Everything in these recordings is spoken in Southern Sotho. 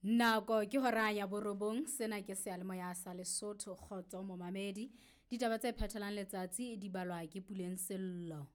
Nako ke hora ya borobong, sena ke seyalemoya sa Lesotho, kgotso momamedi. Ditaba tse phethelang letsatsi di balwa ke Puleng Sello.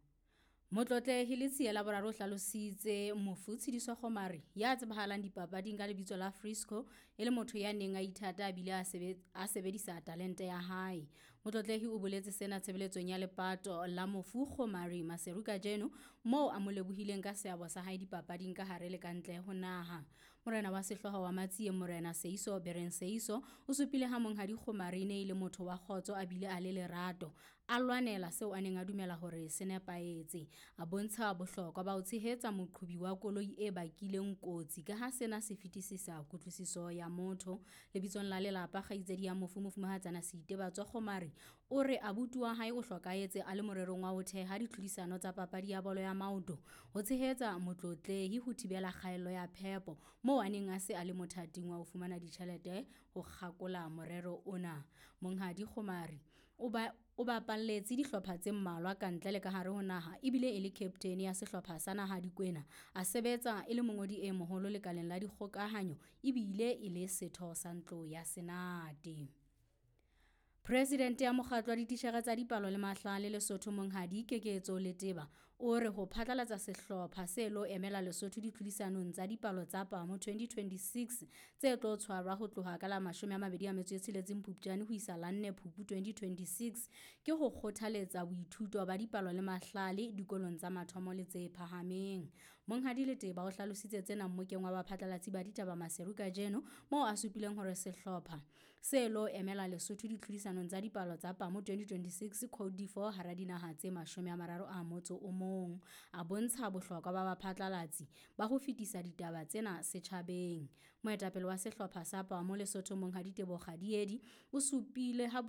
Motlotlehi Letsie la boraro o hlalositse mofu Tshidiso Kgomari ya tsebahalang dipapading ka lebitso la Frisco e le motho ya neng a ithata a bile a sebedisa talente ya hae. Motlotlehi o boletse sena tshebeletsong ya lepato la mofu Kgomari Maseru kajeno moo a mo lebohileng ka seabo sa hae dipapading ka hare le ka ntle ho naha. Morena wa sehlooho wa Matsieng Morena Seiso Bereng Seiso o supile ha monghadi Kgomari e ne e le motho wa kgotso a bile a le lerato, a lwanela seo a neng a dumela hore se nepahetse. A bontsha bohlokwa ba ho tshehetsa moqhobi wa koloi e bakileng kotsi ka ha sena se fetisisa kutlwisiso ya motho. Lebitsong la lelapa, kgaitsedi ya mofu Mofumahatsana Seitebatso Kgomari o re abuti wa hae o hlokahetse a le morerong wa ho theha ditlhodisano tsa papadi ya bolo ya maoto ho tshehetsa motlotlehi ho thibela kgaello ya phepo moo a neng a se a le mothating wa ho fumana ditjhelete ho kgakola morero ona. Monghadi Kgomari o bapalletse dihlopha tse mmalwa ka ntle le ka hare ho naha ebile e le captain ya sehlopha sa naha Dikwena. A sebetsa e le mongodi e moholo lekaleng la dikgokahanyo ebile e le setho sa ntlo ya Senate. Presidente ya mokgatlo wa dititjhere tsa dipalo le mahlale Lesotho Monghadi Keketso Leteba o re ho phatlalatsa sehlopha se lo emela Lesotho ditlhodisanong tsa dipalo tsa PAMO 2026 tse tlo tshwarwa ho tloha ka la 26 Phupjane ho isa la 4 Phupu 2026 ke ho kgothaletsa boithuto ba dipalo le mahlale dikolong tsa mathomo le tse phahameng. Monghadi Leteba o hlalositse tsena mmokeng wa baphatlalatsi ba ditaba Maseru kajeno moo a supileng hore sehlopha se lo emela Lesotho ditlhodisanong tsa dipalo tsa PAMO 2026 Code d'Ivoire hara dinaha tse 31. A bontsha bohlokwa ba baphatlalatsi ba ho fetisa ditaba tsena setjhabeng. Moetapele wa sehlopha sa PAMO Lesotho Monghadi Teboho Kgadiedi o supile ha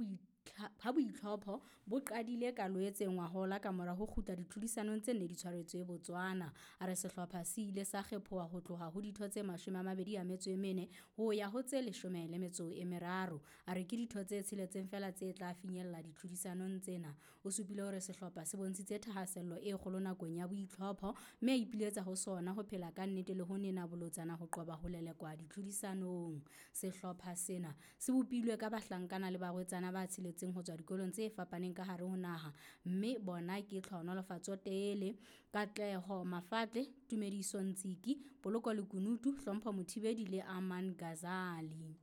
boitlhopho bo qadile ka Loetse ngwahola ka mora ho kgutla ditlhodisanong tse nne di tshwaretswe Botswana. A re sehlopha se ile sa kgephoha ho tloha ho ditho tse 24 ho ya ho tse 13. A re ke ditho tse tsheletseng feela tse tla finyella ditlhodisanong tsena. O supile hore sehlopha se bontshitse thahasello e kgolo nakong ya boitlhopho mme a ipiletsa ho sona ho phela ka nnete le ho nena bolotsana ho qoba ho lelekwa ditlhodisanong. Sehlopha sena se bopilwe ka bahlankana le barwetsana ba tsheletseng ho tswa dikolong tse fapaneng ka hare ho naha mme bona ke Tlhohonolofatso Tele, Katleho Mafatle, Tumediso Ntsiki, Poloko Lekunutu, Hlompho Mothibedi le Aman Ghazali.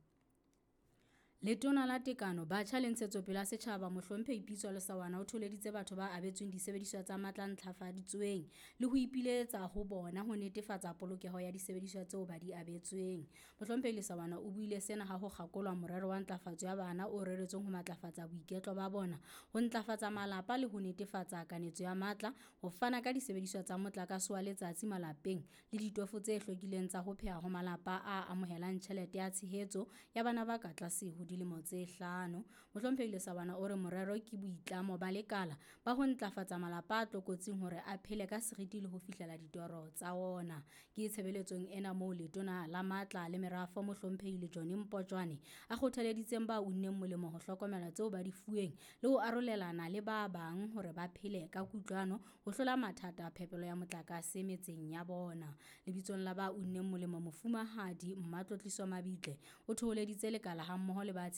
Letona la Tekano, Batjha le Ntshetsopele ya Setjhaba Mohlomphehi Pitso Lesawana o tholeditse batho ba abetsweng disebediswa tsa matla a ntlafaditsweng le ho ipiletsa ho bona ho netefatsa polokeho ya disebediswa tseo ba di abetsweng. Mohlomphehi Lesawana o buile sena ha ho kgakolwa morero wa ntlafatso ya bana o reretsweng ho matlafatsa boiketlo ba bona, ho ntlafatsa malapa le ho netefatsa kanetso ya matla, ho fana ka disebediswa tsa motlakase wa letsatsi malapeng le ditofo tse hlwekileng tsa ho pheha ho malapa a amohelang tjhelete ya tshehetso ya bana ba ka tlase ho dilemo tse 5. Mohlomphehi Lesawana o re morero ke boitlamo ba lekala ba ho ntlafatsa malapa a tlokotsing hore a phele ka seriti le ho fihlela ditoro tsa ona. Ke tshebeletsong ena moo letona la matla le merafo Mohlomphehi Lejone Mpotjwane a kgothaleditseng ba unneng molemo ho hlokomela tseo ba di fuweng le ho arolelana le ba bang hore ba phele ka kutlwano ho hlola mathata a phepelo ya motlakase metseng ya bona. Lebitsong la ba unneng molemo Mofumahadi Mmatlotliso Mabitle o thoholeditse lekala hammoho le ba